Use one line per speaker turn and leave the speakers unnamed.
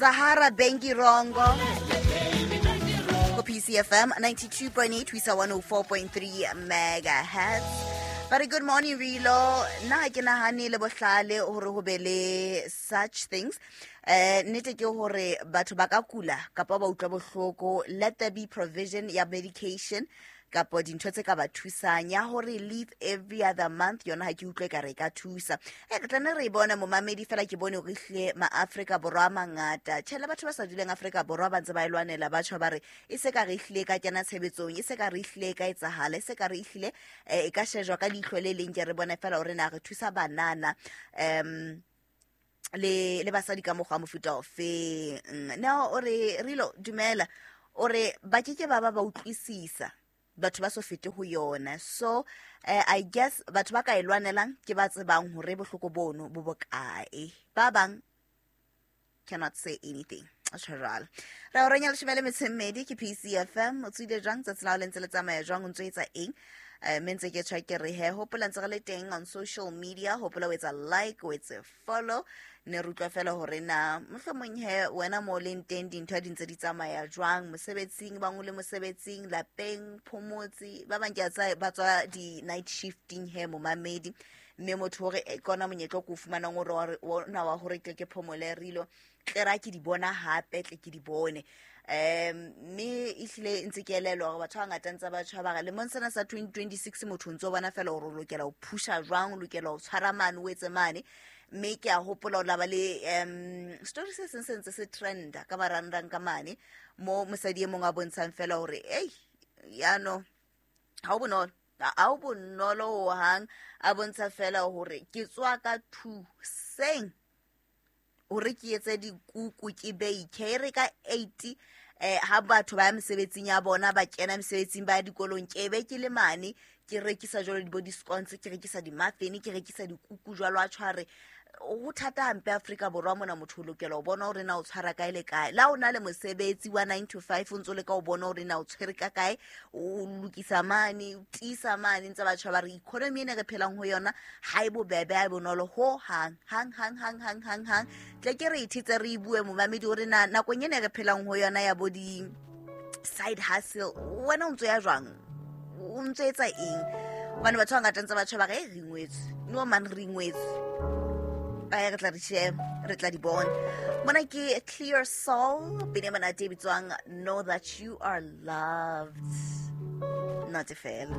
Zahara Bengirongo go PCFM 92.8 ho isa 104.3 megahertz. Ba re good morning Rilo, nna ha ke nahane le bohlale hore ho be le such things. Nnete ke hore batho ba ka kula kapa ba utlwa bohloko, let there be provision ya medication kapo dintho tse ka ba thusang. Ya hore leave every other month yona ha ke utlwe ka re ka thusa. Re tla nne re e bone momamedi, fela ke bone hore ehlile maAfrika Borwa a mangata, tjhe le batho ba sa duleng Afrika Borwa ba ntse ba e lwanela, ba tjho ba re e se ka re ehlile e ka kena tshebetsong, e se ka re ehlile e ka etsahala, e se ka re ehlile e ka shejwa ka leihlo le leng, ke re bone fela hore na re thusa banana le basadi ka mokgwa wa mofuta ofeng. Neo o re Rilo dumela, o re ba ke ke ba ba ba utlwisisa batho ba so fete ho yona. So I guess batho ba ka e lwanelang ke ba tsebang hore bohloko bono bo bokae, ba bang cannot say anything. Tjho jwalo. Re o renya leshome le metso e mmedi ke PCFM. O tswile jwang tsatsi la hao le ntse le tsamaya jwang, o ntso etsa eng? Mme ntse ke tjho ke re he, hopola ntse re le teng on social media, hopola o etsa like, o etse follow. Ne re utlwa fela hore na mohlomong he wena mo o leng teng dintho di ntse di tsamaya jwang mosebetsing, bang o le mosebetsing, lapeng, phomotse, ba bang ke a tseba ba tswa di-night shifting he momamedi, mme motho hore e kona monyetla o ke o fumanang hore ona wa hore tle ke phomole rilo, tle ra ke di bona hape, tle ke di bone. Mme ehlile ntse ke elelwa hore batho ba bangata ntse ba tjho ba re lemong sena sa 2026 motho o ntso bona fela hore o lokela ho phusha jwang, o lokela ho tshwara mane, o etse mane. Mme ke a hopola o laba le story se seng se ntse se trenda ka marangrang ka mane, mo mosadi e mong a bontshang fela hore ei yano ha o bonolo, ha o bonolo hohang, a bontsha fela hore ke tswa ka 2 seng hore ke etse dikuku ke bake, e re ka 8 ha batho ba ya mesebetsing ya bona, ba kena mesebetsing, ba ya dikolong, ke be ke le mane ke rekisa jwalo di bo di-scones, ke rekisa di-muffin, ke rekisa dikuku jwalo. A tshware ho thata hampe Afrika Borwa mona, motho o lokela ho bona hore na o tshwara kae le kae. La o na le mosebetsi wa 9 to 5, o ntso leka ho bona hore na o tshwere ka kae, o lokisa mane, o tiisa mane, ntse batjha ba re economy ena re phelang ho yona ha e bobebe, ha e bonolo ho hang, hang, hang, hang, hang, hang, hang. Tle ke re ithetse re e bue momamedi hore na nakong ena re phelang ho yona ya bo di side hustle, wena o ntso ya jwang, o ntso etsa eng? Hobane batho ba bangata ntse batjha ba re, re ingwetswe, no man, re ingwetswe. Re tla di sheba, re tla di bona. Mona ke Clear Soul, pina e monate e bitswang Know That You Are Loved. Not fela.